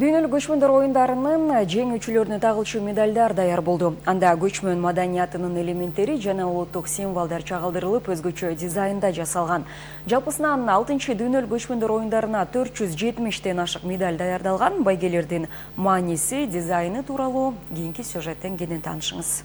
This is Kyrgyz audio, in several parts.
Дүйнөлүк көчмөндөр оюндарынын жеңүүчүлөрүнө тагылчу медалдар даяр болду. Анда көчмөн маданиятынын элементтери жана улуттук символдор чагылдырылып, өзгөчө дизайнда жасалган. Жалпысынан 6-чы дүйнөлүк көчмөндөр оюндарына 470тен ашык медаль даярдалган. Байгелердин мааниси, дизайны тууралуу кийинки сюжеттен кенен таанышыңыз.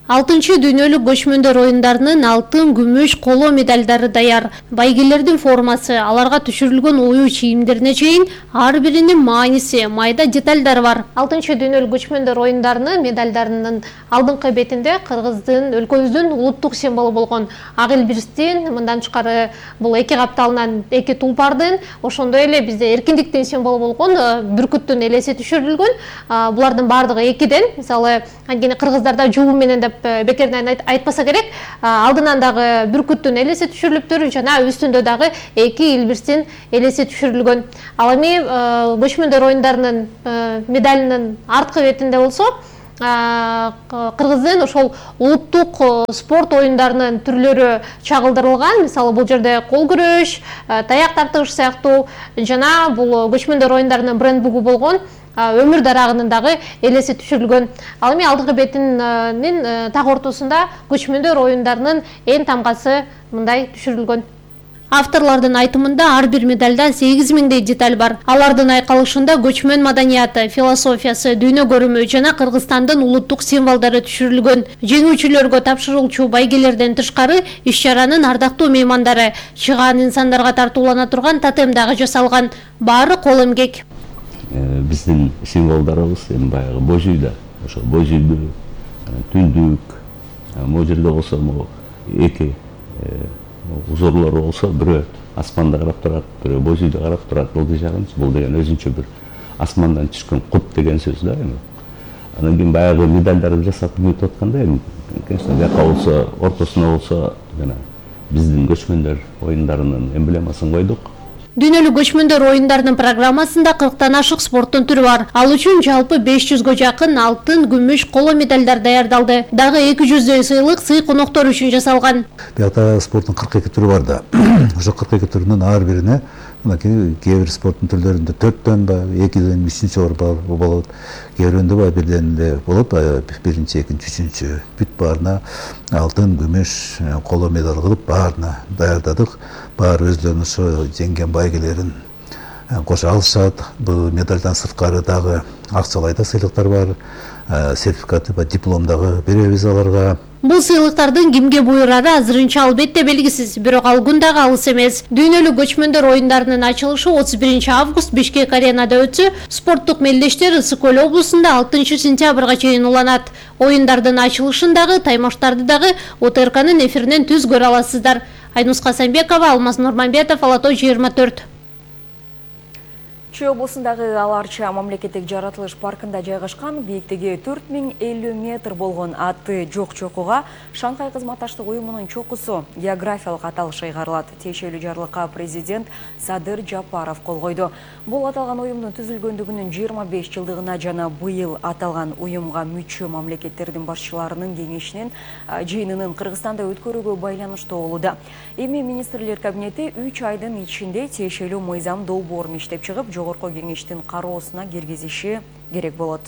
6-чы дүйнөлүк көчмөндөр оюндарынын алтын, күмүш, коло медалдары даяр. Байгелердин формасы, аларга түшүрүлгөн ою чийимдерине чейин ар биринин мааниси, майда деталдар бар. 6-чы дүйнөлүк көчмөндөр оюндарынын медалдарынын алдыңкы бетинде Кыргыздын, өлкөбүздүн улуттук символу болгон ак илбирстин, мындан тышкары бул эки капталынан эки тулпардын, ошондой эле бизде эркиндиктин символу болгон бүркүттүн элеси түшүрүлгөн. Булардын баардыгы экиден. Мисалы, анткени кыргыздарда жугу менен деп бекерден айтпаса керек, алдынан дагы бүркүттүн элеси түшүрүлүптүр, жана үстүндө дагы эки илбирстин элеси түшүрүлгөн. Ал эми көчмөндөр оюндарынын медалинин арткы бетинде болсо, Кыргыздын ошол улуттук спорт оюндарынын түрлөрү чагылдырылган. Мисалы, бул жерде кол күрөш, таяк тартыш сыяктуу жана бул көчмөндөр оюндарынын брендбугу болгон өмүр дарагынын дагы элеси түшүрүлгөн. Ал эми алдыңкы бетинин так ортосунда көчмөндөр оюндарынын эң тамгасы мындай түшүрүлгөн. Авторлордун айтымында ар бир медальда 8000дей деталь бар. Алардын айкалышында көчмөн маданияты, философиясы, дүйнө көрүмү жана Кыргызстандын улуттук символдору түшүрүлгөн. Жеңүүчүлөргө тапшырылчу байгелерден тышкары иш-чаранын ардактуу меймандары, чыгаан инсандарга тартуулана турган тотем дагы жасалган. Баары кол эмгек. Биздин символдорубуз эми баягы божүйдө, ошо божүйдү, түндүк, могу жерде болсо эки узорлору болсо, бирөө асманда карап турат, бирөө божүйдө карап турат. Ылдый жагын бул деген өзүнчө бир асмандан түшкөн кут деген сөз да эми. Анан кийин баягы медальдарды жасап бүтүп атканда эми, конечно, бияка болсо, ортосуна болсо жана биздин көчмөндөр оюндарынын эмблемасын койдук. Дүйнөлүк көчмөндөр оюндарынын программасында 40тан ашык спорттун түрү бар. Ал үчүн жалпы 500гө жакын алтын, күмүш, коло медальдар даярдалды. Дагы 200дөй сыйлык сый коноктор үчүн жасалган. Биякта спорттун 42 түрү бар да. Ошо 42 түрүнүн ар бирине кээ бир спорттун түрлөрүндө 4төн ба, 2ден 3-чү болот. Кээ биринде бирден эле болот, биринчи, экинчи, үчүнчү. Бүт баарына алтын, күмүш, коло медаль кылып баарына даярдадык. Баары өздөрүнүн ошо жеңген байгелерин кошо алышат. Бул медальдан сырткары дагы акчалай да сыйлыктар бар. Сертификат ба диплом дагы беребиз аларга. Бул сыйлыктардын кимге буйрары азырынча албетте белгисиз, бирок ал күн дагы алыс эмес. Дүйнөлүк көчмөндөр оюндарынын ачылышы 31 август Бишкек аренада өтсө, спорттук мелдештер Ысык Көл облусунда 6 сентябрга чейин уланат. Оюндардын ачылышын дагы, таймаштарды дагы ОТРКнын эфиринен түз көрө аласыздар. Айнус Касамбекова, Алмаз Нурманбетов, Ала Тоо 24. Чүй облусундагы Аларча мамлекеттик жаратылыш паркында жайгашкан бийиктиги 4050 метр болгон аты жок чокуга Шанхай кызматташтык уюмунун чокусу географиялык аталыш ыйгарылат. Тиешелүү жарлыкка президент Садыр Жапаров кол койду. Бул аталган уюмдун түзүлгөндүгүнүн 25 жылдыгына жана быйыл аталган уюмга мүчө мамлекеттердин башчыларынын кеңешинин жыйынынын Кыргызстанда өткөрүүгө байланыштуу болууда. Эми министрлер кабинети 3 айдын ичинде тиешелүү мыйзам долбоорун иштеп чыгып, жогорку кеңештин кароосуна киргизиши керек болот.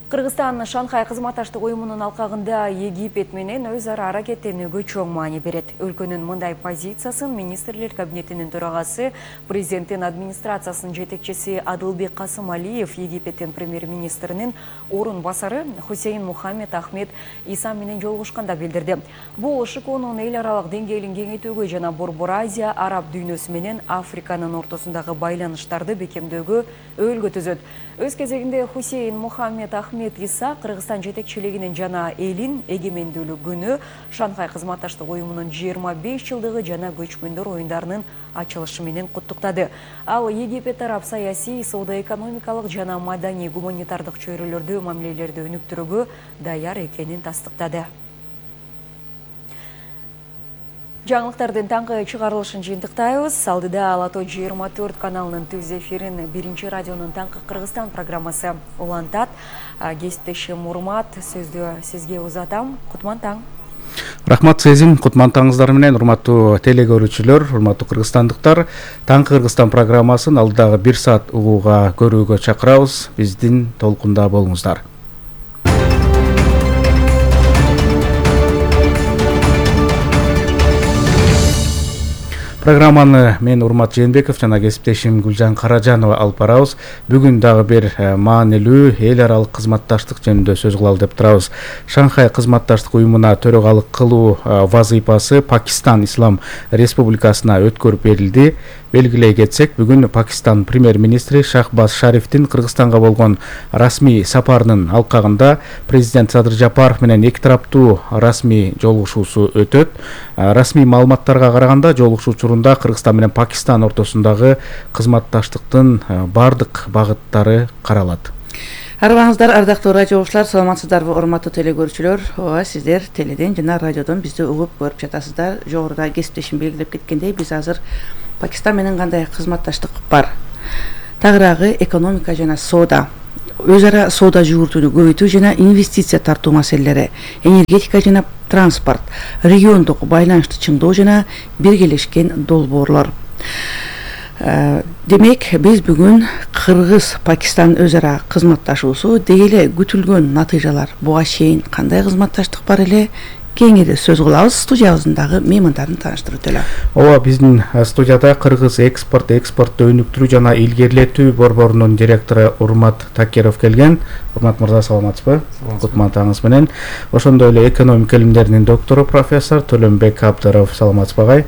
Кыргызстан Шанхай кызматташтык уюмунун алкагында Египет менен өз ара аракеттенүүгө чоң маани берет. Өлкөнүн мындай позициясын министрлер кабинетинин төрагасы, президенттин администрациясынын жетекчиси Адылбек Касымалиев Египеттин премьер-министринин орун басары Хусейн Мухаммед Ахмед Иса менен жолугушканда билдирди. Бул ШКОнун эл аралык деңгээлин кеңейтүүгө жана Борбор Азия, араб дүйнөсү менен Африканын ортосундагы байланыштарды бекемдөөгө өөлгө түзөт. Өз кезегинде Хусейн Мухаммед Ахмед Иса Кыргызстан жетекчилигинин жана элин эгемендүүлүк күнү, Шанхай кызматташтык уюмунун 25 жылдыгы жана көчмөндөр оюндарынын ачылышы менен куттуктады. Ал Египет тарап саясий, соода-экономикалык жана маданий гуманитардык чөйрөлөрдө мамилелерди өнүктүрүүгө даяр экенин тастыктады. Жаңылыктардын таңкы чыгарылышын жыйынтыктайбыз. Алдыда Ала Тоо 24 каналынын түз эфирин биринчи радионун таңкы Кыргызстан программасы улантат. Кесиптешим Урмат, сөздү сизге узатам. Кутман таң. Рахмат сезим, кутмантаңыздар менен урматтуу телегөрүүчүлөр, урматтуу кыргызстандыктар. Таңкы Кыргызстан программасын алдагы 1 саат угууга көрүүгө чакырабыз. Биздин толкунда болуңуздар. Программаны мен Урмат Жээнбеков жана кесиптешим Гүлжан Каражанова алып барабыз. Бүгүн дагы бир маанилүү эл аралык кызматташтык жөнүндө сөз кылалы деп турабыз. Шанхай кызматташтык уюмуна төрагалык кылуу вазыйпасы Пакистан Ислам Республикасына өткөрүп берилди. Белгилей кетсек, бүгүн Пакистан премьер-министри Шахбаз Шарифтин Кыргызстанга болгон расмий сапарынын алкагында президент Садыр Жапаров менен эки тараптуу расмий жолугушуусу өтөт. Расмий маалыматтарга караганда жолугушуу учурунда Кыргызстан менен Пакистан ортосундагы кызматташтыктын бардык багыттары каралат. Арбаңыздар, ардактуу радио окуучулар, саламатсыздарбы, урматтуу телегөрүүчүлөр? Ооба, сиздер теледен жана радиодон бизди угуп көрүп жатасыздар. Жогоруда кесиптешим белгилеп кеткендей, биз азыр Пакистан менен кандай кызматташтык бар? Тагыраагы экономика жана соода, өз ара соода жүгүртүүнү көбөйтүү жана инвестиция тартуу маселелери, энергетика жана транспорт, региондук байланышты чыңдоо жана биргелешкен долбоорлор. Демек, биз бүгүн Кыргыз-Пакистан өз ара кызматташуусу деги эле күтүлгөн натыйжалар буга чейин кандай кызматташтык бар эле? Кеңири сөз кылабыз. Студиябыздагы меймандарын тааныштырып өтөлү. Ооба, биздин студияда Кыргыз экспортту өнүктүрүү жана илгерилетүү борборунун директору Урмат Такеров келген. Урмат мырза, саламатсызбы? Кутмантаңыз менен. Ошондой эле экономика илимдеринин доктору профессор Төлөнбек Абдыров, саламатсызбы агай?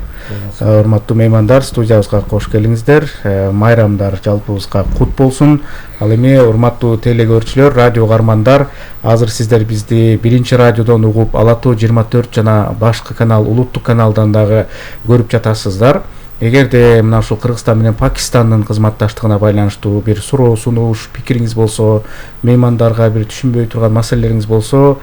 Урматтуу меймандар, студиябызга кош келиңиздер. Майрамдар жалпыбызга кут болсун. Ал эми урматтуу телегөрүүчүлөр, радио кармандар, азыр сиздер бизди биринчи радиодон угуп, Ала Тоо 24 жана башкы канал, улуттук каналдан дагы көрүп жатасыздар. Эгерде мына ушул Кыргызстан менен Пакистандын кызматташтыгына байланыштуу бир суроо, сунуш, пикириңиз болсо, меймандарга бир түшүнбөй турган маселелериңиз болсо,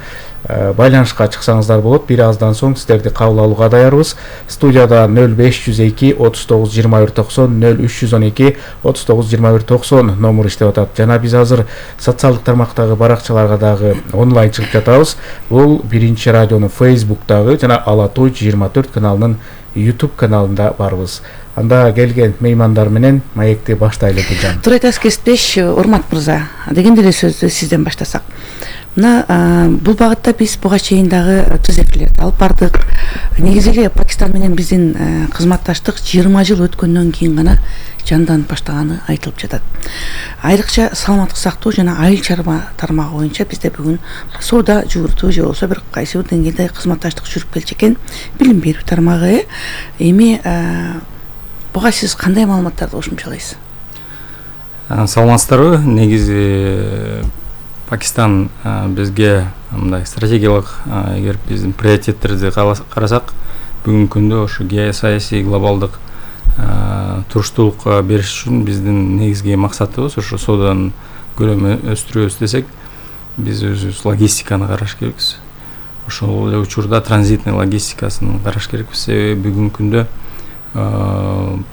байланышка чыксаңыздар болот. Бир аздан соң сиздерди кабыл алууга даярбыз. Студияда 0502 39 21 90, 0312 39 21 90 номер иштеп атат. Жана биз азыр социалдык тармактагы баракчаларга дагы онлайн чыгып жатабыз. Бул биринчи радионун Facebook'тагы жана Ала Тоо 24 каналынын YouTube каналында барбыз. Анда келген меймандар менен маекти баштайлы Гүлжан. Туура айтасыз, кесиптеш Урмат мырза. Дегенде эле сөздү сизден баштасак. Мына бул багытта биз буга чейин дагы түзөтүүлөрдү алып бардык. Негизи эле Пакистан менен биздин кызматташтык 20 жыл өткөндөн кийин гана жанданып баштаганы айтылып жатат. Айрыкча саламаттык сактоо жана айыл чарба тармагы боюнча бизде бүгүн соода жүгүртүү же болбосо бир кайсы бир деңгээлде кызматташтык жүрүп келчү экен. Билим берүү тармагы. Эми буга сиз кандай маалыматтарды кошумчалайсыз? Саламатсыздарбы? Негизи Пакистан бизге мындай стратегиялык, эгер биздин приоритеттерди карасак, бүгүнкү күндө ошо геосаясий глобалдык туруштуулук бериш үчүн биздин негизги максатыбыз ошо сооданын көлөмүн өстүрөбүз десек, биз өзүбүз логистиканы караш керекпиз. Ошол эле учурда транзитный логистикасын караш керекпиз. Себеби бүгүнкү күндө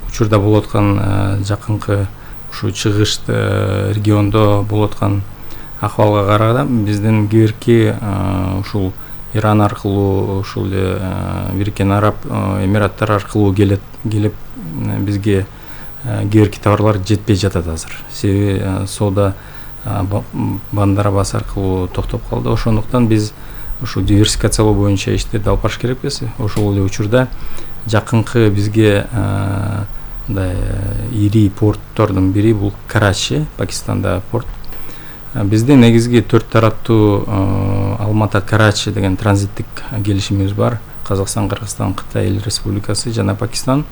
учурда болуп аткан жакынкы ушу чыгыш региондо болуп аткан акыбалга караганда биздин кийинки ушул Иран аркылуу, ушул эле Бириккен Араб Эмираттар аркылуу келип бизге кийинки товарлар жетпей жатат азыр. Себеби соода Бандар-Аббас аркылуу токтоп калды. Ошондуктан биз ушу диверсификациялоо боюнча иштерди алып барыш керекпиз. Ошол эле учурда жакынкы бизге мындай ири порттордун бири бул Карачи, Пакистанда порт. Бизде негизги 4 тараптуу Алмата-Карачи деген транзиттик келишимибиз бар. Казакстан, Кыргызстан, Кытай Эл Республикасы жана Пакистан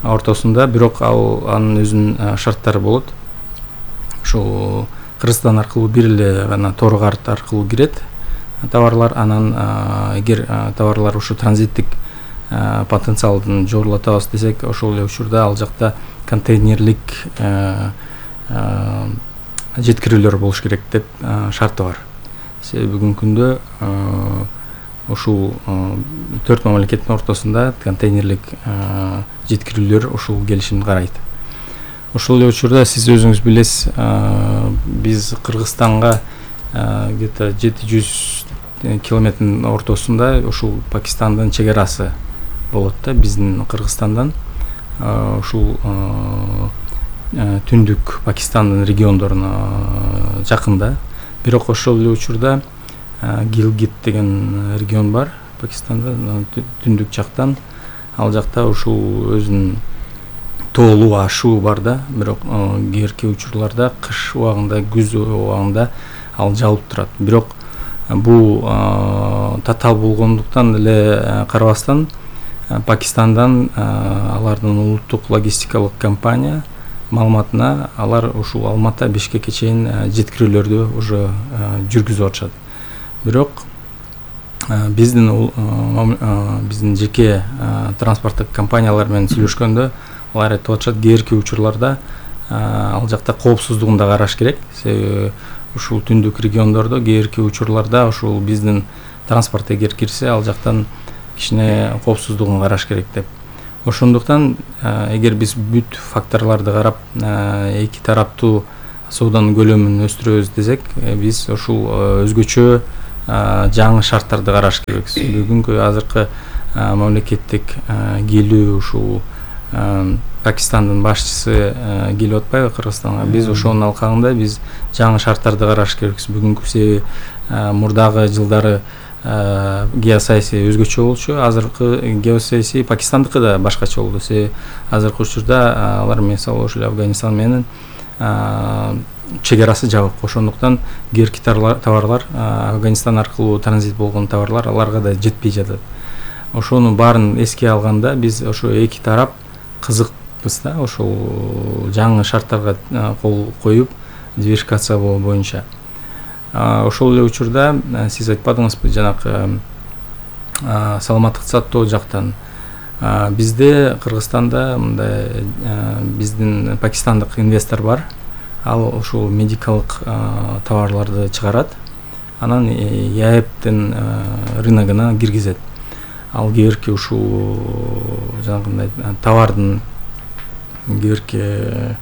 ортосунда, бирок анын өзүнүн шарттары болот. Ошол Кыргызстан аркылуу бир эле гана тор карт аркылуу кирет товарлар. Анан эгер товарлар ушу транзиттик потенциалдын жогорулатабыз десек, ошол эле учурда ал жакта контейнерлик жеткирүүлөр болуш керек деп шарты бар. Себеби бүгүнкү күндө ушул 4 мамлекеттин ортосунда контейнерлик жеткирүүлөр ушул келишимди карайт. Ошол эле учурда сиз өзүңүз билесиз, биз Кыргызстанга где-то 700 километрдин ортосунда ушул Пакистандын чек арасы болот да, биздин Кыргызстандан ушул түндүк Пакистандын региондоруна жакында. Бирок ошол эле учурда Гилгит деген регион бар Пакистанда, түндүк жактан. Ал жакта ушул өзүнүн тоолуу ашуу бар да, бирок кээинки учурларда кыш убагында, күз убагында ал жаалып турат. Бирок бул татаал болгондуктан эле карабастан Пакистандан алардын улуттук логистикалык компания маалыматына алар ушул Алматы, Бишкекке чейин жеткирүүлөрдү уже жүргүзүп атышат. Бирок биздин жеке транспорттук компаниялар менен сүйлөшкөндө алар айтып атышат, кээинки учурларда ал жакта коопсуздугун да караш керек. Себеби ушул түндүк региондордо кээинки учурларда ушул биздин транспорт эгер кирсе, ал жактан кичине коопсуздугун караш керек деп. Ошондуктан эгер биз бүт факторлорду карап эки тараптуу сооданын көлөмүн өстүрөбүз десек, биз ушул өзгөчө жаңы шарттарды караш керекбиз. Бүгүнкү азыркы мамлекеттик келүү ушул Пакистандын башчысы келип атпайбы Кыргызстанга? Биз ошонун алкагында биз жаңы шарттарды караш керекбиз. Бүгүнкү себеби мурдагы жылдары геосаясий өзгөчө болчу. Азыркы геосаясий Пакистандыкы да башкача болду. Себеби азыркы учурда алар мисалы ошол Афганистан менен чек арасы жабык. Ошондуктан кээинки товарлар Афганистан аркылуу транзит болгон товарлар аларга да жетпей жатат. Ошонун баарын эске алганда биз ошо эки тарап кызыкпыз да, ошол жаңы шарттарга кол коюп диверсификация боюнча. Ошол эле учурда сиз айтпадыңызбы, жанакы саламаттык сактоо жактан бизде Кыргызстанда мындай биздин пакистандык инвестор бар. Ал ушул медикалык товарларды чыгарат, анан ЯЭПтин рыногуна киргизет. Ал кээинки ушул жанагындай товардын кээинки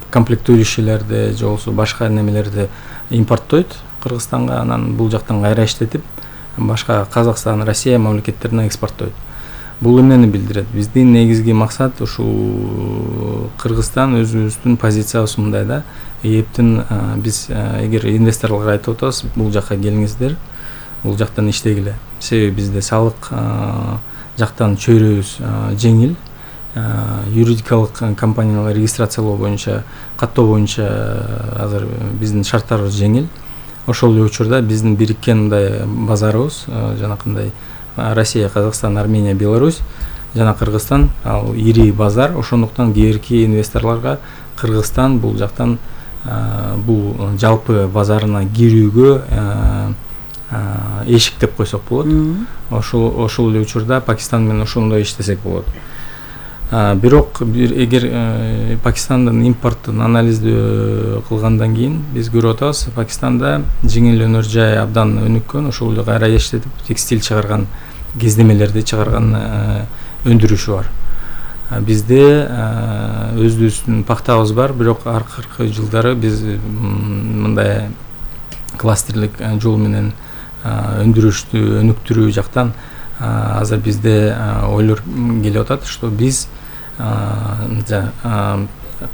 комплектующийлерди же болбосо башка немелерди импорттойт Кыргызстанга, анан бул жактан кайра иштетип башка Казакстан, Россия мамлекеттерине экспорттойт. Бул эмнени билдирет? Биздин негизги максат ушул Кыргызстан өзүбүздүн позициябыз мындай да. ЯЭПтин биз эгер инвесторлорго айтып атабыз, бул жакка келиңиздер, бул жактан иштегиле. Себеби бизде салык жактан чөйрөбүз жеңил, юридикалык компаниялар регистрациялоо боюнча, каттоо боюнча азыр биздин шарттарыбыз жеңил. Ошол эле учурда биздин бириккен мындай базарыбыз, жанакындай Россия, Казакстан, Армения, Беларусь жана Кыргызстан ал ири базар. Ошондуктан кээинки инвесторлорго Кыргызстан бул жактан бул жалпы базарына кирүүгө эшик деп койсок болот. Ошол эле учурда Пакистан менен ошондой иштесек болот. Бирок эгер Пакистандын импорттун анализдөө кылгандан кийин биз көрүп атабыз, Пакистанда жеңил өнөр жай абдан өнүккөн, ошол эле кайра иштетип текстиль чыгарган, кездемелерди чыгарган өндүрүшү бар. Бизде өзүбүздүн пактабыз бар, бирок аркыркы жылдары биз мындай кластерлик жол менен өндүрүштү өнүктүрүү жактан азыр бизде ойлор келип атат, что биз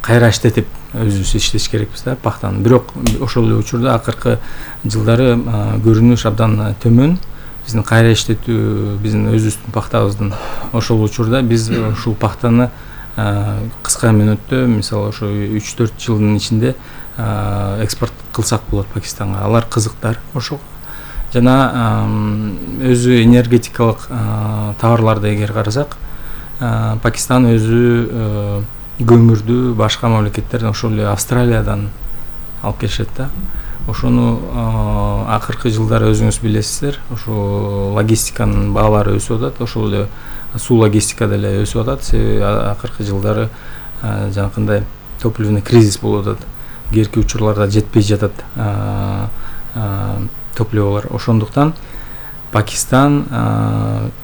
кайра иштетип өзүбүз иштеш керекпиз да пактаны. Бирок ошол эле учурда акыркы жылдары көрүнүш абдан төмөн. Биздин кайра иштетүү биздин өзүбүздүн пактабыздын. Ошол учурда биз ушул пактаны кыска мөөнөттө, мисалы ошо 3-4 жылдын ичинде экспорт кылсак болот Пакистанга. Алар кызыктар ошого. Жана өзү энергетикалык товарларды эгер карасак, Пакистан өзү көмүрдү башка мамлекеттерден, ошол эле Австралиядан алып келишет да. Ошону акыркы жылдары өзүңүз билесиздер, ошо логистиканын баалары өсүп атат, ошол эле суу логистика деле өсүп атат. Себеби акыркы жылдары жанакындай топливный кризис болуп атат. Кээинки учурларда жетпей жатат топливолор. Ошондуктан Пакистан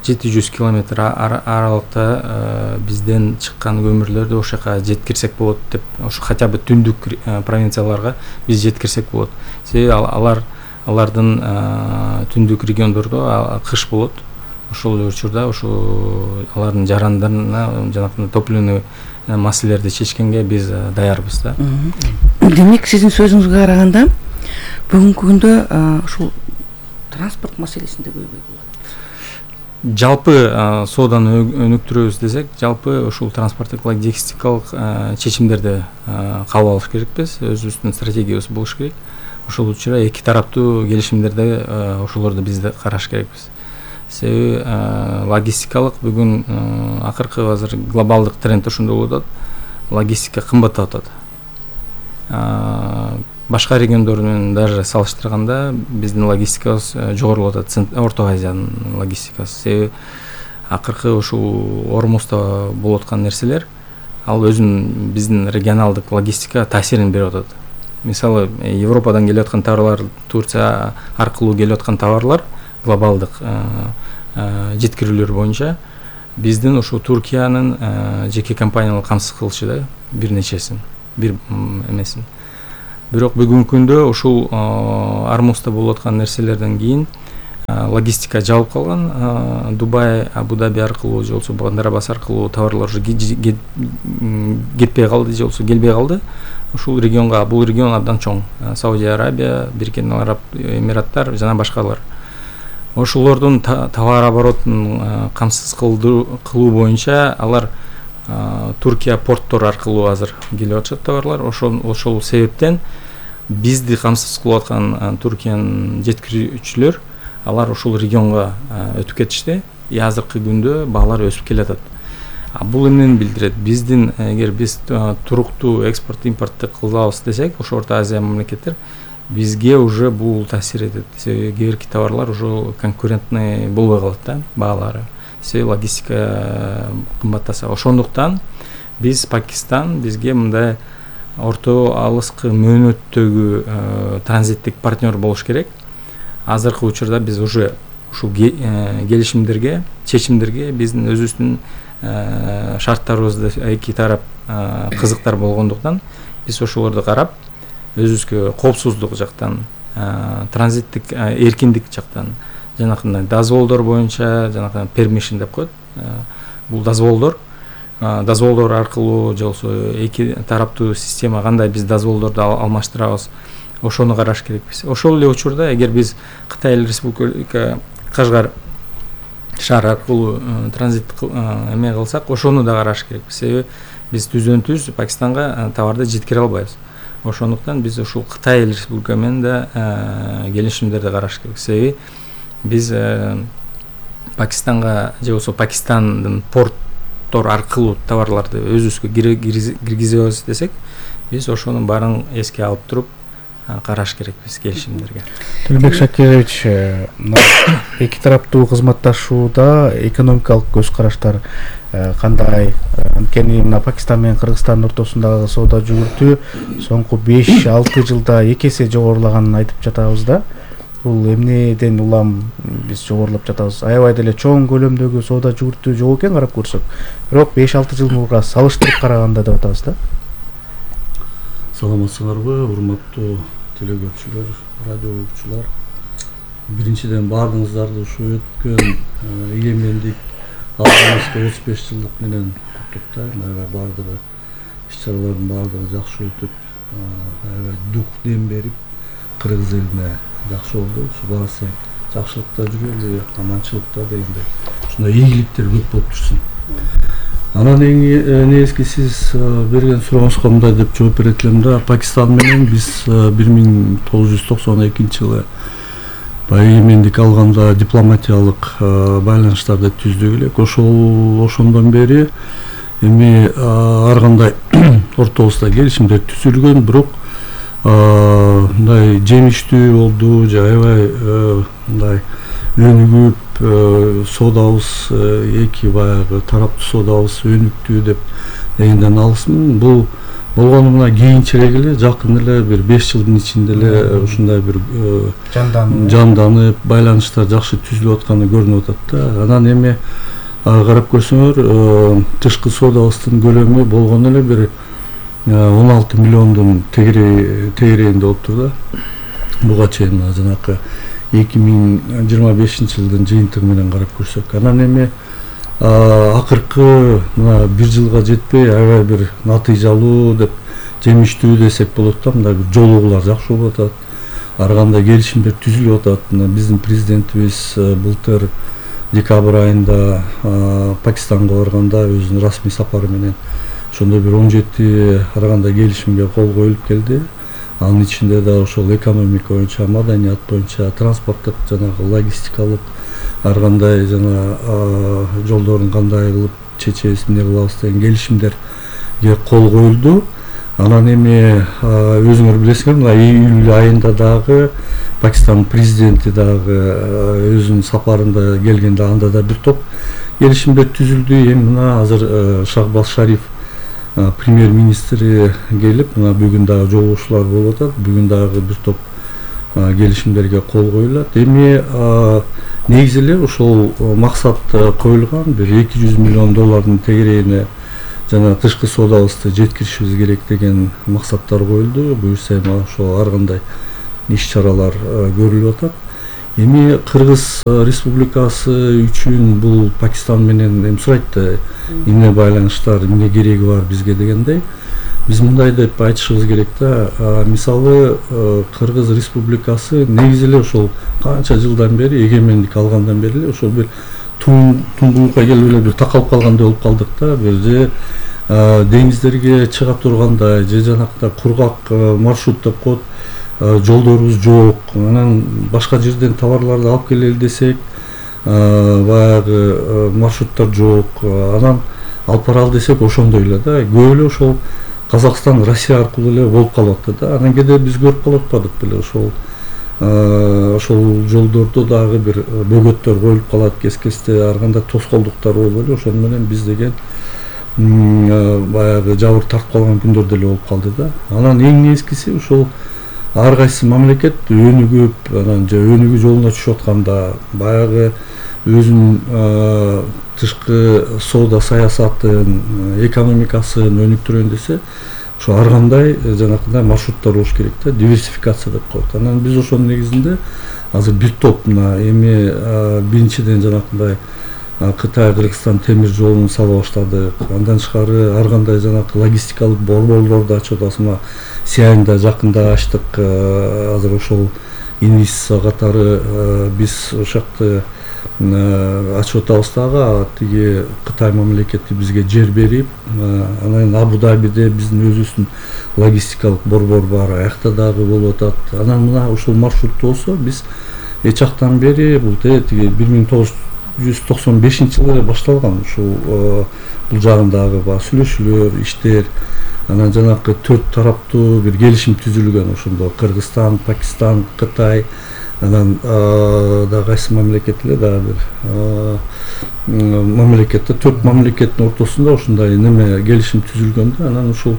700 километр аралыкта бизден чыккан көмүрлөрдү ошол жака жеткирсек болот деп, ошо хотя бы түндүк провинцияларга биз жеткирсек болот. Себеби алар алардын түндүк региондордо кыш болот. Ошол учурда ошо алардын жарандарына жанагы топливный маселелерди чечкенге биз даярбыз да. Демек сиздин сөзүңүзгө караганда бүгүнкү күндө ушул транспорт маселесинде көйгөй болот. Жалпы сооданы өнүктүрөбүз десек, жалпы ушул транспорттук логистикалык чечимдерди кабыл алыш керекпиз. Өзүбүздүн стратегиябыз болуш керек. Ошол учурда эки тараптуу келишимдерде ошолорду биз да караш керекпиз. Себеби логистикалык бүгүн акыркы азыр глобалдык тренд ошондой болуп атат. Логистика кымбаттап атат. Башка региондор менен даже салыштырганда биздин логистикабыз жогорулап атат, Орто Азиянын логистикасы. Себеби акыркы ушул Ормузда болуп аткан нерселер ал өзүнүн биздин регионалдык логистикага таасирин берип атат. Мисалы, Европадан келип аткан товарлар, Турция аркылуу келип аткан товарлар глобалдык жеткирүүлөр боюнча биздин ушул Туркиянын жеке компаниялар камсыз кылышы да бир нечесин, бир эмесин. Бирок бүгүнкү күндө ушул Ормузда болуп аткан нерселерден кийин логистика жабылып калган. Дубай, Абу-Даби аркылуу же болбосо Бандар-Аббас аркылуу товарлар уже кетпей калды, же болбосо келбей калды. Ушул регионго, бул регион абдан чоң. Саудия Арабия, Бириккен Араб Эмираттар жана башкалар. Ошолордун товар оборотун камсыз кылуу боюнча алар Туркия порттор аркылуу азыр келип атышат товарлар. Ошол себептен бизди камсыз кылып аткан Туркиянын жеткирүүчүлөр алар ушул регионго өтүп кетишти. Азыркы күндө баалар өсүп келатат. Бул эмнени билдирет? Биздин эгер биз туруктуу экспорт импортты кылабыз десек, ошо Орто Азия мамлекеттер бизге уже бул таасир этет. Себеби кээ бирки товарлар уже конкурентный болбой калат да баалары. Себеби логистика кымбаттаса. Ошондуктан биз Пакистан бизге мындай орто алыскы мөөнөттөгү транзиттик партнер болуш керек. Азыркы учурда биз уже ушул келишимдерге, чечимдерге биздин өзүбүздүн шарттарыбызды эки тарап кызыктар болгондуктан биз ошолорду карап өзүбүзгө коопсуздук жактан, транзиттик эркиндик жактан, жанакындай дозволдор боюнча, жанакы permission деп коет. Бул дозволдор аркылуу же болбосо эки тараптуу система кандай биз дозволдорду алмаштырабыз, ошону караш керекпиз. Ошол эле учурда эгер биз Кытай Республика Кашгар шаар аркылуу транзит эме кылсак, ошону да караш керекпиз. Себеби биз түздөн-түз Пакистанга товарды жеткире албайбыз. Ошондуктан биз ушул Кытай Республика менен да келишимдерди караш керек. Себеби биз Пакистанга же болбосо Пакистандын порттор аркылуу товарларды өзүбүзгө киргизебиз десек, биз ошонун баарын эске алып туруп караш керекпиз келишимдерге. Төлөнбек Шакирович, эки тараптуу кызматташууда экономикалык көз караштар кандай? Анткени мына Пакистан менен Кыргызстандын ортосундагы соода жүгүртүү соңку 5-6 жылда эки эсе жогорулаганын айтып жатабыз да. Бул эмнеден улам биз жогорулап жатабыз? Аябай деле чоң көлөмдөгү соода жүгүртүү жок экен карап көрсөк. Бирок 5-6 жыл мурга салыштырып караганда деп атабыз да. Саламатсыңарбы, урматтуу телекөрүүчүлөр, радио угуучулар. Биринчиден баардыгыңыздарды ушу өткөн эгемендик алдыбызга 35 жылдык менен куттуктайм. Аябай баардыгы иш-чаралардын баардыгы жакшы өтүп, аябай дух дем берип, кыргыз элине жакшы болду. Ушу баасы жакшылыкта жүрөлү, аманчылыкта дегендей. Ушундай ийгиликтер көп болуп турсун. Анан негизги сиз берген сурооңузга мындай деп жооп берет элем да. Пакистан менен биз 1992 жылы эгемендик алганда дипломатиялык байланыштарды түздүк элек. Ошондон бери эми ар кандай ортобузда келишимдер түзүлгөн, бирок мындай жемиштүү болду, же аябай мындай өнүгүп соодабыз эки баягы тараптуу соодабыз өнүктү деп дегенден алысмын. Бул болгону мына кийинчерээк эле, жакын эле бир 5 жылдын ичинде эле ушундай бир жанданып, байланыштар жакшы түзүлүп атканы көрүнүп атат да. Анан эми карап көрсөңөр, тышкы соодабыздын көлөмү болгону эле бир 16 миллиондун тегерегинде болуптур да. буга чейин жанакы 2025 жылдын жыйынтыгы менен карап көрсөк, анан эми акыркы мына 1 жылга жетпей аябай бир натыйжалуу деп жемиштүү десек болот да, мындай бир жолугуулар жакшы болуп атат. Ар кандай келишимдер түзүлүп атат. Биздин президентибиз былтыр декабрь айында Пакистанга барганда өзүнүн расмий сапары менен ошондой бир 17 ар кандай келишимге кол коюлуп келди. Анын ичинде да ошол экономика боюнча, маданият боюнча, транспорттук жанагы логистикалык ар кандай жана жолдорун кандай кылып чечебиз, эмне кылабыз деген келишимдерге кол коюлду. Анан эми өзүңөр билесиңер, мына июль айында дагы Пакистан президенти дагы өзүнүн сапарында келгенде анда да бир топ келишимдер түзүлдү. Эми мына азыр Шахбаз Шариф премьер-министри келип, мына бүгүн дагы жолугушуулар болуп атат. Бүгүн дагы бир топ келишимдерге кол коюлат. Эми негизи эле ошол максат коюлган, бир 200 миллион доллардын тегерегине жана тышкы соодабызды жеткиришибиз керек деген максаттар коюлду. Буюрса эми ошол ар кандай иш-чаралар көрүлүп атат. Эми Кыргыз Республикасы үчүн бул Пакистан менен эми сурайт да, эмне байланыштар, эмне кереги бар бизге дегендей. Биз мындай деп айтышыбыз керек да, мисалы Кыргыз Республикасы негизи эле ошол канча жылдан бери, эгемендик алгандан бери эле ошол бир туңгуюкка келип эле бир такалып калгандай болуп калдык да. Бир же деңиздерге чыга тургандай, же жанакта кургак маршрут деп коет, жолдорубуз жок. Анан башка жерден товарларды алып келели десек, баягы маршруттар жок. Анан алып баралы десек ошондой эле да. Көп эле ошол Казакстан, Россия аркылуу эле болуп калып атты да. Анан кээде биз көрүп калып атпадык беле ошол жолдордо дагы бир бөгөттөр коюлуп калат, кес-кесте ар кандай тоскоолдуктар болуп эле ошону менен биз деген баягы жабыр тартып калган күндөр деле болуп калды да. Анан эң негизгиси ошол ар кайсы мамлекет өнүгүп, анан же өнүгүү жолуна түшүп атканда баягы өзүнүн тышкы соода саясатын, экономикасын өнүктүрөйүн десе, ошо ар кандай жанакындай маршруттар болуш керек да, диверсификация деп коет. Анан биз ошонун негизинде азыр бир топ мына эми биринчиден жанакындай Кытай Кыргызстан темир жолун сала баштадык. Андан тышкары ар кандай жанакы логистикалык борборлорду ачып атабыз. Мына Сиайнда жакында ачтык. Азыр ошол инвестиция катары биз ошакты ачып атабыз дагы. Тиги Кытай мамлекети бизге жер берип, анан Абу-Дабиде биздин өзүбүздүн логистикалык борбор бар, аякта дагы болуп атат. Анан мына ошол маршрутта болсо биз эч жактан бери бул тиги 1995 жылы башталган ушул бул жагындагы сүйлөшүүлөр, иштер, анан жанакы 4 тараптуу бир келишим түзүлгөн ошондо Кыргызстан, Пакистан, Кытай, анан дагы кайсы мамлекет эле дагы бир мамлекетте 4 мамлекеттин ортосунда ушундай неме келишим түзүлгөн да. Анан ушул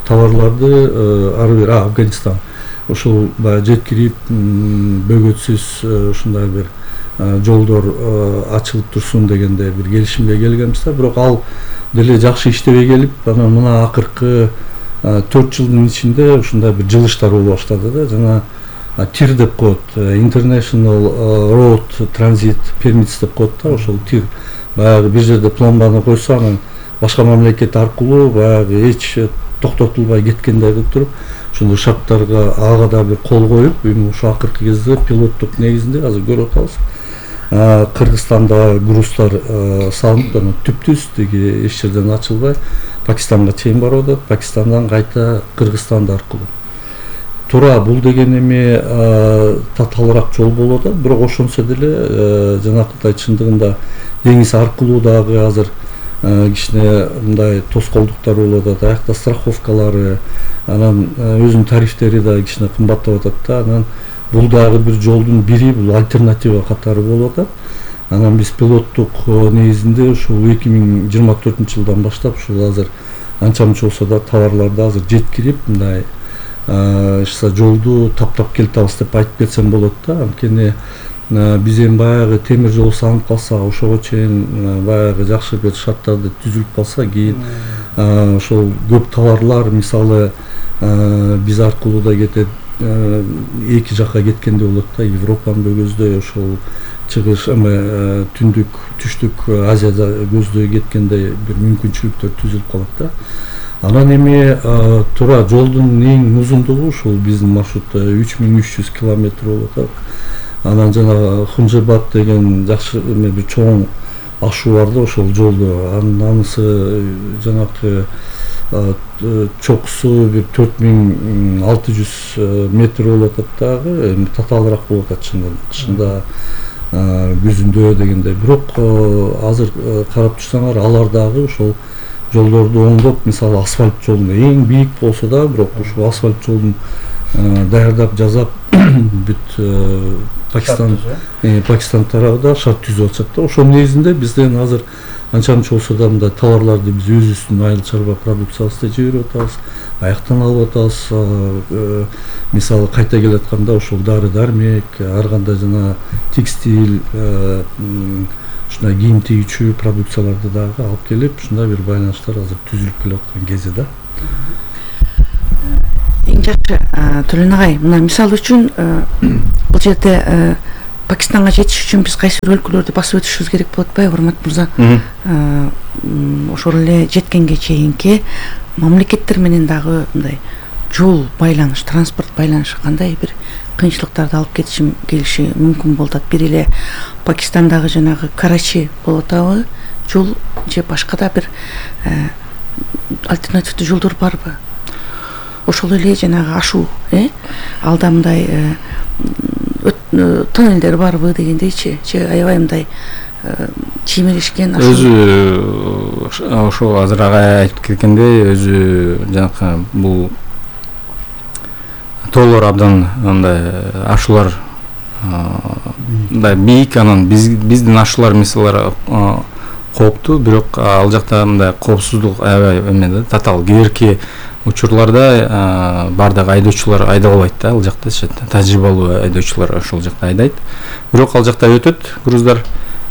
товарларды ар бир Афганистан ошол баягы жеткирип бөгөтсүз ушундай бир жолдор ачылып турсун дегенде бир келишимге келгенбиз да. Бирок ал деле жакшы иштебей келип, анан мына акыркы 4 жылдын ичинде ушундай бир жылыштар боло баштады да. Жана тир деп коет, International Road Transit Permits деп коет да. Ошол тир баягы бир жерде пломбаны койсо, анан башка мамлекет аркылуу баягы эч токтотулбай кеткендей кылып туруп, ошондой шарттарга ага да бир кол коюп, эми ошо акыркы кезде пилоттук негизинде азыр көрүп атабыз. Кыргызстанда груздар салынып, анан түптүз тиги эч жерден ачылбай Пакистанга чейин барып атат, Пакистандан кайта Кыргызстан аркылуу. Туура бул деген эми татаалыраак жол болуп атат, бирок ошонсо деле жанакындай чындыгында деңиз аркылуу дагы азыр кичине мындай тоскоолдуктар болуп атат, аякта страховкалары, анан өзүнүн тарифтери да кичине кымбаттап атат да. Анан бул дагы бир жолдун бири, бул альтернатива катары болуп атат. Анан биз пилоттук негизинде ушул 2024 жылдан баштап ушул азыр анча мынча болсо да товарларды азыр жеткирип, мындай жолду таптап келатабыз деп айтып кетсем болот да. Анткени биз эми баягы темир жол салынып калса, ошого чейин баягы жакшы бир шарттарды түзүлүп калса, кийин ошол көп товарлар мисалы биз аркылуу да кетет, эки жакка кеткенде болот да, Европаны көздөй, ошол чыгыш түндүк түштүк Азияда көздөй кеткенде бир мүмкүнчүлүктөр түзүлүп калат да. Анан эми туура жолдун эң узундугу ушул биздин маршрутта 3300 километр болуп атат. Анан жана Хунжебат деген жакшы бир чоң ашуу бар да ошол жолду. Анысы жанакы чокусу бир 4600 метр болуп атат дагы, эми татаалыраак болуп атат кышында, күзүндө дегенде. Бирок азыр карап турсаңар, алар дагы ошол жолдорду оңдоп, мисалы асфальт жолун эң бийик болсо да, бирок ушул асфальт жолун даярдап жасап бүт Пакистан тарабында шарт түзүп атышат да. Ошонун негизинде бизден азыр анча мынча болсо да мындай товарларды биз өзүбүздүн айыл чарба продукциябызды жиберип атабыз, аяктан алып атабыз. Мисалы кайта келатканда ошол дары-дармек, ар кандай жана текстиль, ушундай кийим тигүүчү продукцияларды дагы алып келип, ушундай бир байланыштар азыр түзүлүп келаткан кези да. Эң жакшы Төлөн агай, мына мисал үчүн бул жерде Пакистанга жетиш үчүн биз кайсы бир өлкөлөрдү басып өтүшүбүз керек болуп атпайбы, урмат мырза? Ошол эле жеткенге чейинки мамлекеттер менен дагы мындай жол байланыш, транспорт байланышы кандай бир кыйынчылыктарды алып келиши мүмкүн болуп атат. Бир эле Пакистандагы жанагы Карачи болуп атабы, жол же башка да бир альтернативдүү жолдор барбы? Ошол эле жанагы ашуу, алда мындай тоннелдер барбы дегендейчи, же аябай мындай чиймелешкен ашуу? Өзү ошо азыр агай айтып кеткендей, өзү жанакы бул тоолор абдан мындай ашуулар мындай бийик, анан биздин ашуулар мисалдар кооптуу, бирок ал жакта мындай коопсуздук аябай эме да, татаал. Кээ учурларда бардык айдоочулар айдап албайт да, ал жакта тажрыйбалуу айдоочулар ошол жакта айдайт. Бирок ал жакта өтөт груздар.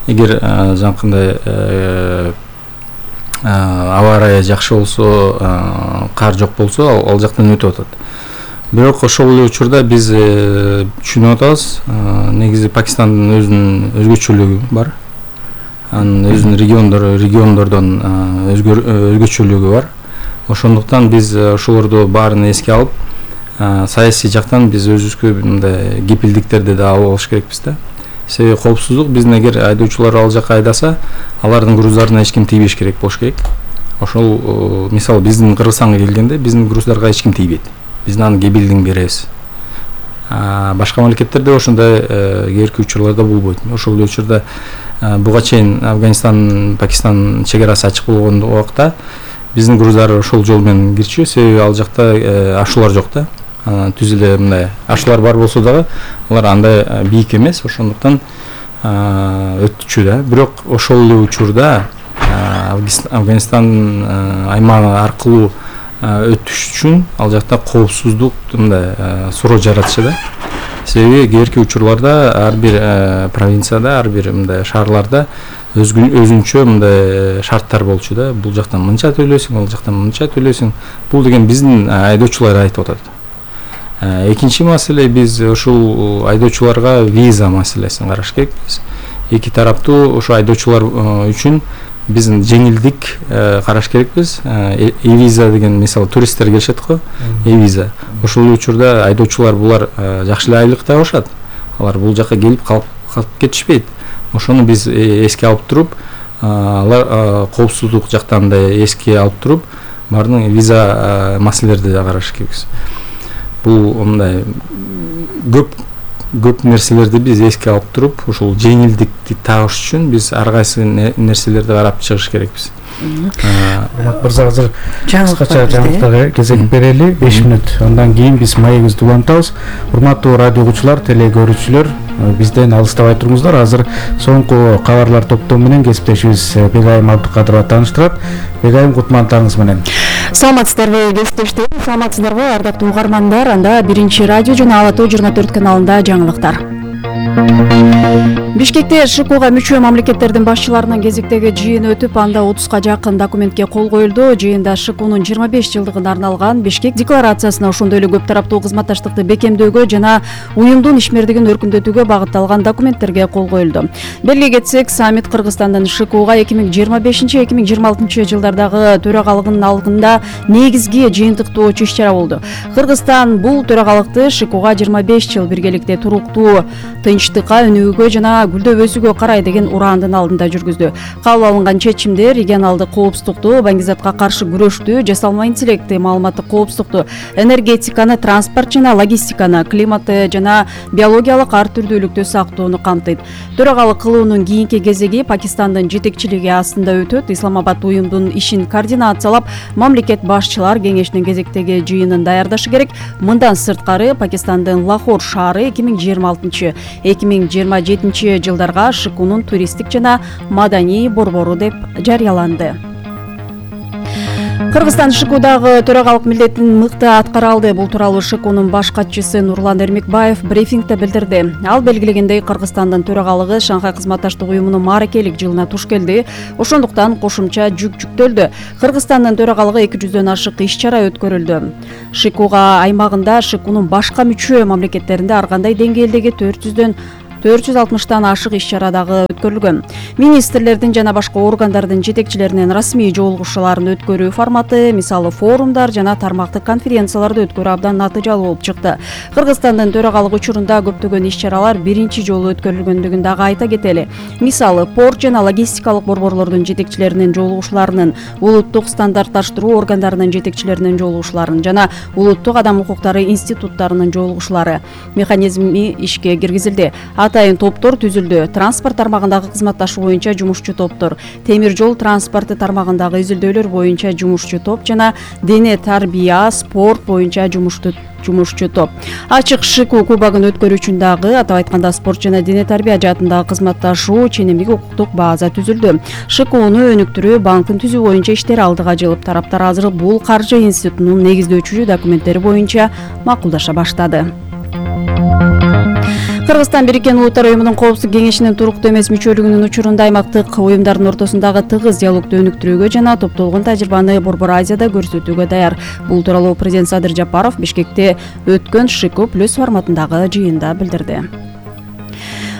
Эгер жанакындай аба ырайы жакшы болсо, кар жок болсо, ал жактан өтүп атат. Бирок ошол эле учурда биз түшүнүп атабыз, негизи Пакистандын өзүнүн өзгөчөлүгү бар. Анын өзүнүн региондордон өзгөчөлүгү бар. Ошондуктан биз ошолорду баарын эске алып, саясий жактан биз өзүбүзгө мындай кепилдиктерди да алып алыш керекпиз да. Себеби коопсуздук, биздин эгер айдоочулар ал жакка айдаса, алардын груздарына эч ким тийбеш керек болуш керек. Ошол мисалы биздин Кыргызстанга келгенде биздин груздарга эч ким тийбейт. Биз анын кепилдигин беребиз. Башка мамлекеттерде ошондой кээрки учурларда болбойт. Ошол учурда буга чейин Афганистан, Пакистан чек арасы ачык болгон убакта биздин груздар ошол жол менен кирчү, себеби ал жакта ашуулар жок да. Түз эле мындай ашуулар бар болсо дагы алар андай бийик эмес, ошондуктан өтчү да. Бирок ошол эле учурда Афганистан аймагы аркылуу өтүш үчүн ал жакта коопсуздук мындай суроо жаратышы да. Себеби кээрки учурларда ар бир провинцияда, ар бир мындай шаарларда өзүнчө мындай шарттар болчу да. Бул жактан мынча төлөсүң, ал жактан мынча төлөсүң. Бул деген биздин айдоочулар айтып атат. Экинчи маселе, биз ушул айдоочуларга виза маселесин караш керекпиз. Эки тараптуу ошо айдоочулар үчүн биз жеңилдик караш керекпиз. E-виза деген, мисалы туристтер келишет го, E-виза. Ошол учурда айдоочулар булар жакшы эле айлык табышат. Алар бул жакка келип калып кетишпейт. Ошону биз эске алып туруп, алар коопсуздук жактан да эске алып туруп, баардык виза маселелерди да караш керекпиз. Бул мындай көп нерселерди биз эске алып туруп, ошол жеңилдикти табыш үчүн биз ар кайсы нерселерди карап чыгыш керекпиз. Мырза, азыр кыскача жаңылыктарга кезек берели, 5 минут. Андан кийин биз маегибизди улантабыз. Урматтуу радио угуучулар, теле көрүүчүлөр, бизден алыстабай туруңуздар. Азыр соңку кабарлар топтому менен кесиптешибиз Бегайым Абдыкадырова тааныштырат. Бегайым, кутмандыктарыңыз менен. Саламатсыздарбы кесиптештер, саламатсыздарбы ардактуу угармандар. Анда 1 радио жана Ала Тоо 24 каналында жаңылыктар. Бишкекте ШКУга мүчө мамлекеттердин башчыларынын кезектеги жыйыны өтүп, анда 30га жакын документке кол коюлду. Жыйында ШКУнун 25 жылдыгына арналган Бишкек декларациясына, ошондой эле көп тараптуу кызматташтыкты бекемдөөгө жана уюмдун ишмердигин өркүндөтүүгө багытталган документтерге кол коюлду. Белгилей кетсек, саммит Кыргызстандын ШКУга 2025-2026 жылдардагы төрагалыгынын алдында негизги жыйынтыктоочу иш-чара болду. Кыргызстан бул төрагалыкты ШКУга 25 жыл биргеликте туруктуу, тынчтыкка өнүгүүгө жана гүлдөп өсүүгө карай деген ураандын алдында жүргүздү. Кабыл алынган чечимдер регионалдык коопсуздукту, баңгизатка каршы күрөштү, жасалма интеллекти, маалыматтык коопсуздукту, энергетиканы, транспорт жана логистиканы, климатты жана биологиялык ар түрдүүлүктү сактоону камтыйт. Төрагалык кылуунун кийинки кезеги Пакистандын жетекчилиги астында өтөт. Исламабад уюмдун ишин координациялап, мамлекет башчылар кеңешинин кезектеги жыйынын даярдашы керек. Мындан сырткары Пакистандын Лахор шаары 2026-2027 жылдарга ШКУнун туристтик жана маданий борбору деп жарыяланды. Кыргызстан ШКУдагы төрагалык милдетин мыкты аткара алды. Бул тууралуу ШКУнун баш катчысы Нурлан Эрмекбаев брифингде билдирди. Ал белгилегендей, Кыргызстандын төрагалыгы Шанхай кызматташтык уюмунун мааракелик жылына туш келди. Ошондуктан кошумча жүк жүктөлдү. Кыргызстандын төрагалыгы 200дөн ашык иш-чара өткөрүлдү. ШКУга аймагында ШКУнун башка мүчө мамлекеттеринде ар кандай деңгээлдеги 460тан ашык иш-чарадагы өткөрүлгөн. Министрлердин жана башка органдардын жетекчилеринин расмий жолугушууларын өткөрүү форматы, мисалы форумдар жана тармактык конференцияларды өткөрүү абдан натыйжалуу болуп чыкты. Кыргызстандын төрагалык учурунда көптөгөн иш-чаралар биринчи жолу өткөрүлгөндүгүн дагы айта кетели. Мисалы, порт жана логистикалык борборлордун жетекчилеринин жолугушууларынын, улуттук стандартташтыруу органдарынын жетекчилеринин жолугушууларын жана улуттук адам укуктары институттарынын жолугушуулары механизми ишке киргизилди. Атайын топтор түзүлдү. Транспорт тармагындагы кызматташуу боюнча жумушчу топтор, темир жол транспорты тармагындагы изилдөөлөр боюнча жумушчу топ жана дене тарбия, спорт боюнча жумушчу топ. Ачык ШКУ кубогун өткөрүү үчүн дагы, атап айтканда, спорт жана дене тарбия жаатындагы кызматташуу ченемдик укуктук база түзүлдү. ШКУну өнүктүрүү, банкын түзүү боюнча иштер алдыга жылып, тараптар азыр бул каржы институтунун негиздөөчү документтери боюнча макулдаша баштады. Кыргызстан Бириккен Улуттар уюмунун коопсуздук кеңешинин туруктуу эмес мүчөлүгүнүн учурунда аймактык уюмдардын ортосундагы тыгыз диалогду өнүктүрүүгө жана топтолгон тажрыйбаны Борбор Азияда көрсөтүүгө даяр. Бул тууралуу президент Садыр Жапаров Бишкекте өткөн ШКУ+ форматындагы жыйында билдирди.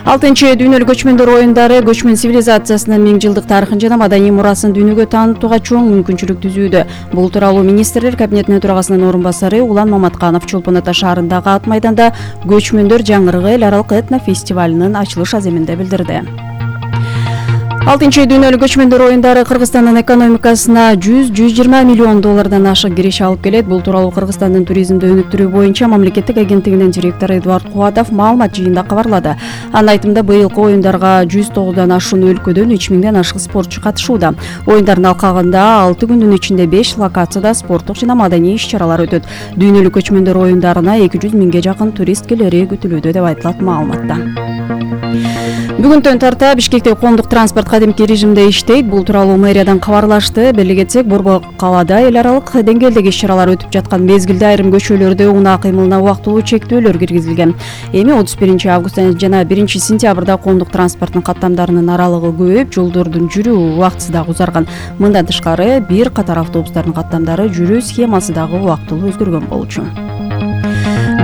6-чы дүйнөлүк көчмөндөр оюндары көчмөн цивилизациясынын 1000 жылдык тарыхын жана маданий мурасын дүйнөгө таанытууга чоң мүмкүнчүлүк түзүүдө. Бул тууралуу министрлер кабинетинин төрагасынын орун басары Улан Маматканов Чолпон Ата шаарындагы ат майданда көчмөндөр жаңырыгы эл аралык этно фестивалынын ачылыш аземинде билдирди. 6-чы дүйнөлүк көчмөндөр оюндары Кыргызстандын экономикасына 100-120 миллион доллардан ашык кириш алып келет. Бул тууралуу Кыргызстандын туризмди өнүктүрүү боюнча мамлекеттик агенттигинин директору Эдуард Кубатов маалымат жыйында кабарлады. Анын айтымында, быйылкы оюндарга 109дан ашуун өлкөдөн 3000ден ашык спортчу катышууда. Оюндардын алкагында 6 күндүн ичинде 5 локацияда спорттук жана маданий иш-чаралар өтөт. Дүйнөлүк көчмөндөр оюндарына 200 миңге жакын турист келери күтүлүүдө деп айтылат маалыматта. Бүгүнтөн тарта Бишкекте коомдук транспорт кадимки режимде иштейт. Бул тууралуу мэриядан кабарлашты. Белгилей кетсек, Борбор калаада эл аралык деңгээлдеги иш-чаралар өтүп жаткан мезгилде айрым көчөлөрдө унаа кыймылына убактылуу чектөөлөр киргизилген. Эми 31 август жана 1 сентябрда коомдук транспорттун каттамдарынын аралыгы көбөйүп, жолдордун жүрүү убактысы дагы узарган. Мындан тышкары, бир катар автобустардын каттамдары жүрүү схемасы дагы убактылуу өзгөргөн болчу.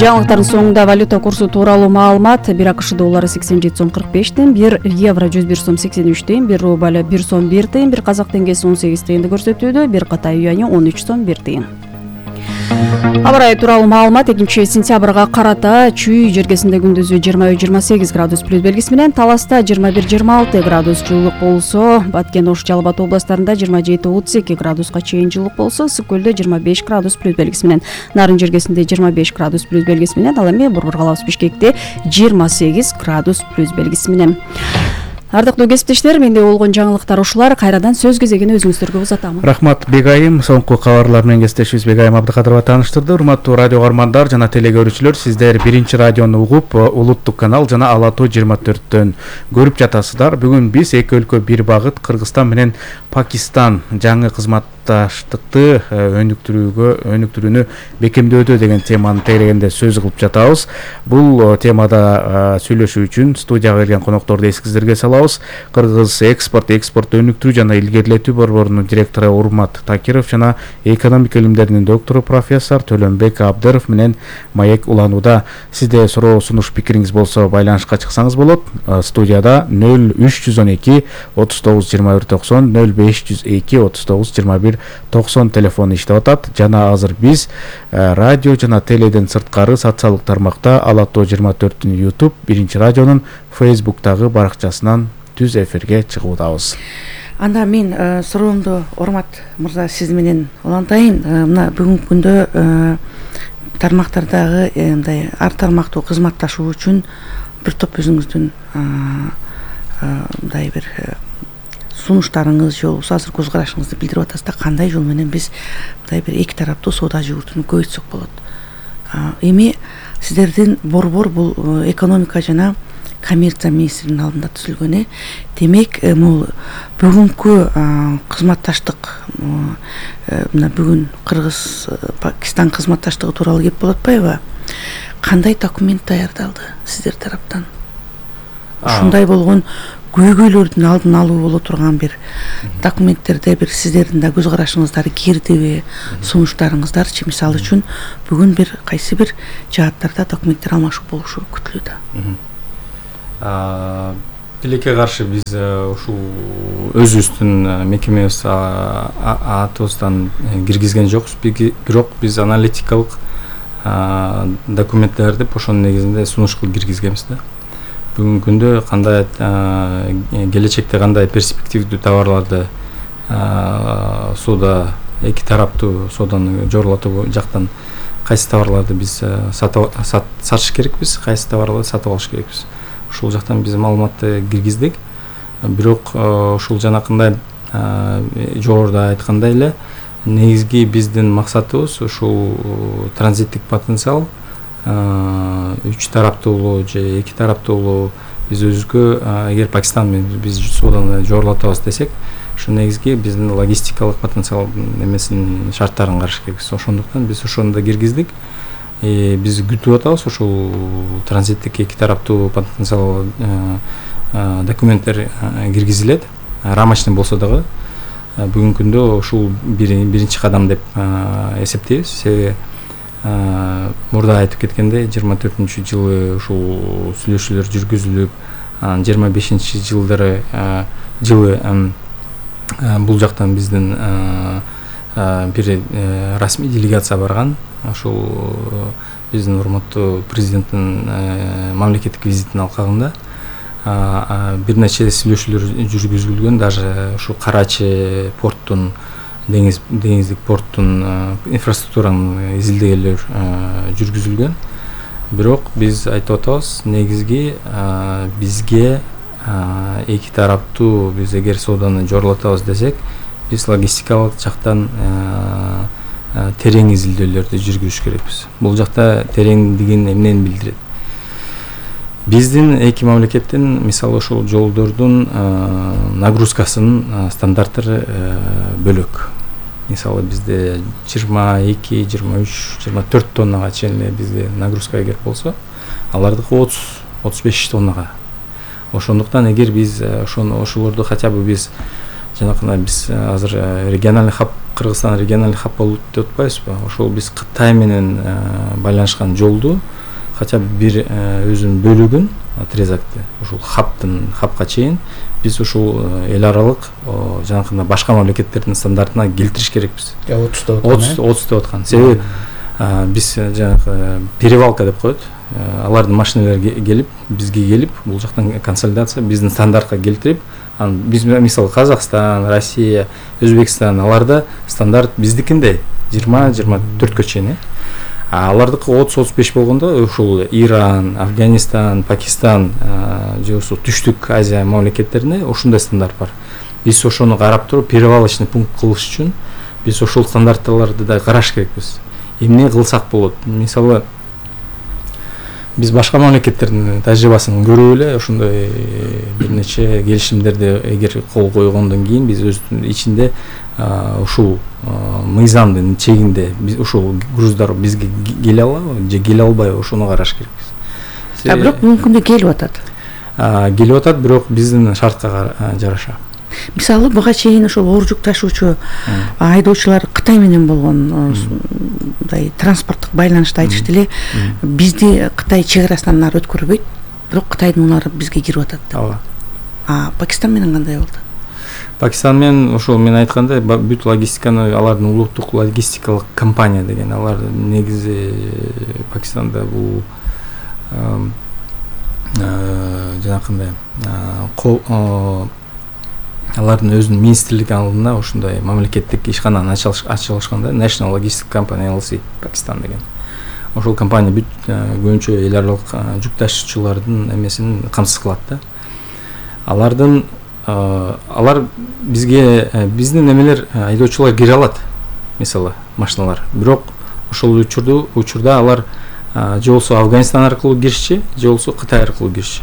Жаңылыктардын соңунда валюта курсу тууралуу маалымат: 1 АКШ доллары 87 сом 45 тыйын, 1 евро 101 сом 83 тыйын, 1 рубль 1 сом 1 тыйын, 1 казак теңгеси 18 тыйынды көрсөтүүдө, 1 Кытай юаньи 13 сом 1 тыйын. Аба ырайы тууралуу маалымат: 2 сентябрга карата Чүй жергесинде күндүзү 23-28 градус плюс белгиси менен, Таласта 21-26 градус жылуулук болсо, Баткен, Ош, Жалал Абад областарында 27-32 градуска чейин жылуулук болсо, Ысык көлдө 25 градус плюс белгиси менен, Нарын жергесинде 25 градус плюс белгиси менен, ал эми Борбор калабыз Бишкекте 28 градус плюс белгиси менен. Ардактуу кесиптештер, менде болгон жаңылыктар ушулар. Кайрадан сөз кезегин өзүңүздөргө узатам. Рахмат Бегайым. Соңку кабарлар менен кесиптешибиз Бегайым Абдыкадырова тааныштырды. Урматтуу радио каармандар жана телегөрүүчүлөр, сиздер биринчи радиону угуп, улуттук канал жана Ала Тоо 24төн көрүп жатасыздар. Бүгүн биз эки өлкө бир багыт, Кыргызстан менен Пакистан жаңы кызмат кызматташтыкты өнүктүрүүнү бекемдөөдө деген теманы тегерегенде сөз кылып жатабыз. Бул темада сүйлөшүү үчүн студияга келген конокторду эсиңиздерге салабыз. Кыргыз экспорт өнүктүрүү жана илгерилетүү борборунун директору Урмат Такиров жана экономика илимдеринин доктору профессор Төлөнбек Абдыров менен маек уланууда. Сизде суроо, сунуш, пикириңиз болсо байланышка чыксаңыз болот. Студияда 0312 39 21 90 0502 39 21 90 телефону иштеп атат. Жана азыр биз радио жана теледен сырткары социалдык тармакта Ала Тоо 24-түн YouTube, Биринчи радионун Facebook'тагы баракчасынан түз эфирге чыгуудабыз. Анда мен суроомду Урмат мырза сиз менен улантайын. Мына бүгүнкү күндө тармактардагы мындай ар тармактуу кызматташуу үчүн бир топ өзүңүздүн мындай бир сунуштарыңыз же болбосо азыр көз карашыңызды билдирип атасыз да, кандай жол менен биз мындай бир эки тараптуу соода жүгүртүүнү көбөйтсөк болот. Эми сиздердин борбор бул экономика жана коммерция министринин алдында түзүлгөн. Демек, бул бүгүнкү кызматташтык мына бүгүн Кыргыз-Пакистан кызматташтыгы тууралуу кеп болуп атпайбы? Кандай документ даярдалды сиздер тараптан? Ушундай болгон көйгөйлөрдүн алдын алуу боло турган бир документтерде бир сиздердин да көз карашыңыздар кирдиби, сунуштарыңыздарчы? Мисалы үчүн бүгүн бир кайсы бир жааттарда документтер алмашуу болушу күтүлүүдө. Тилекке каршы биз ушул өзүбүздүн мекемебиз атыбыздан киргизген жокпуз, бирок биз аналитикалык документтерди ошонун негизинде сунуш кылып киргизгенбиз да. Бүгүнкү күндө кандай келечекте кандай перспективдүү товарларды соода эки тараптуу сооданы жорулатуу жактан кайсы товарларды биз сатыш керекпиз, кайсы товарларды сатып алыш керекпиз. Ушул жактан биз маалыматты киргиздик. Бирок ушул жанакындай жогоруда айткандай эле негизги биздин максатыбыз ушул транзиттик потенциал үч тараптуулуу же эки тараптуулуу биз өзүбүзгө эгер Пакистан менен биз сооданы жорулатабыз десек, ошо негизги биздин логистикалык потенциалдын эмесин шарттарын караш керекпиз. Ошондуктан биз ошону да киргиздик. Биз күтүп атабыз ушул транзиттик эки тараптуу потенциал документтер киргизилет. Рамочный болсо дагы бүгүнкү күндө ушул биринчи кадам деп эсептейбиз. Себеби мурда айтып кеткендей 24-жылы ушул сүйлөшүүлөр жүргүзүлүп, 25-жылдары бул жактан биздин бир расмий делегация барган. Ошол биздин урматтуу президенттин мамлекеттик визитинин алкагында бир нече сүйлөшүүлөр жүргүзүлгөн. Даже ушу Карачи порттун, деңиздик порттун инфраструктуранын изилдегелер жүргүзүлгөн. Бирок биз айтып атабыз, негизги бизге эки тараптуу биз эгер сооданы жорулатабыз десек, биз логистикалык жактан терең изилдөөлөрдү жүргүзүш керекпиз. Бул жакта тереңдигин эмнени билдирет? Биздин эки мамлекеттин мисалы ошол жолдордун нагрузкасынын стандарттары бөлөк. Мисалы бизде 22, 23, 24 тоннага чейин бизде нагрузка эгер болсо, алардыкы 30-35 тоннага. Ошондуктан эгер биз ошолорду хотя бы биз жанакындай биз азыр региональный хаб, Кыргызстан региональный хаб болуп деп атпайбызбы? Ошол биз Кытай менен байланышкан жолду хотя бы бир өзүнүн бөлүгүн, отрезакты ушул хабка чейин биз ушул эл аралык жанакындай башка мамлекеттердин стандартына келтириш керекпиз. 30 деп аткан. Себеби биз жанагы перевалка деп коет. Алардын машиналары келип, бизге келип, бул жактан консолидация биздин стандартка келтирип, биз мисалы Казакстан, Россия, Өзбекстан, аларда стандарт биздикиндей 20-24 чейин. Алардыкы 30-35 болгондо ушул Иран, Афганистан, Пакистан же ошо Түштүк Азия мамлекеттеринде ушундай стандарт бар. Биз ошону карап туруп перевалочный пункт кылыш үчүн биз ошол стандарттарды да караш керекпиз. Эмне кылсак болот? Мисалы биз башка мамлекеттердин тажрыйбасын көрүп эле ошондой бир нече келишимдерди эгер кол койгондон кийин биз өзүбүздүн ичинде ушул мыйзамдын чегинде ушул груздар бизге келе алабы же келе албайбы ошону караш керекпиз. Бирок мүмкүн да келип атат. Келип атат, бирок биздин шартка жараша. Мисалы буга чейин ошол оор жүк ташуучу айдоочулар Кытай менен болгон мындай транспорттук байланышты айтышты эле. Бизди Кытай чек арасынан нары өткөрбөйт, бирок Кытайдын унары бизге кирип атат. Ооба. Пакистан менен кандай болду? Пакистан менен ошол мен айткандай бүт логистиканы алардын улуттук логистикалык компания деген, алар негизи Пакистанда бул жанакындай алардын өзүнүн министрлиги алдында ошондой мамлекеттик ишкананы ачылышканда National Logistic Company LLC Пакистан деген. Ошол компания бүт көбүнчө эл аралык жүк ташуучулардын эмесин камсыз кылат да. Алар бизге биздин эмелер айдоочулар кире алат, мисалы машиналар. Бирок ошол учурда алар же болсо Афганистан аркылуу киришчи, же болсо Кытай аркылуу киришчи.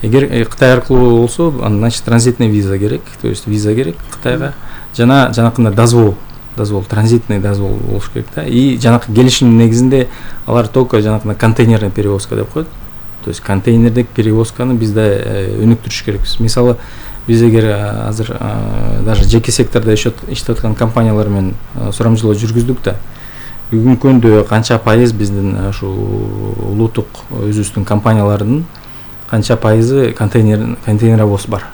Эгер Кытай аркылуу болсо, значит транзитный виза керек, то есть виза керек Кытайга. Жанакындай дозвол, транзитный дозвол болуш керек да. И жанакы келишимдин негизинде алар только жанакындай контейнерный перевозка деп коет. То есть контейнердик перевозканы бизде өнүктүрүш керекпиз. Мисалы биз эгер азыр даже жеке сектордо иштеп аткан компаниялар менен сурамжылоо жүргүздүк да. Бүгүнкү күндө канча пайыз биздин ушул улуттук өзүбүздүн компаниялардын канча пайызы контейнеровоз бар.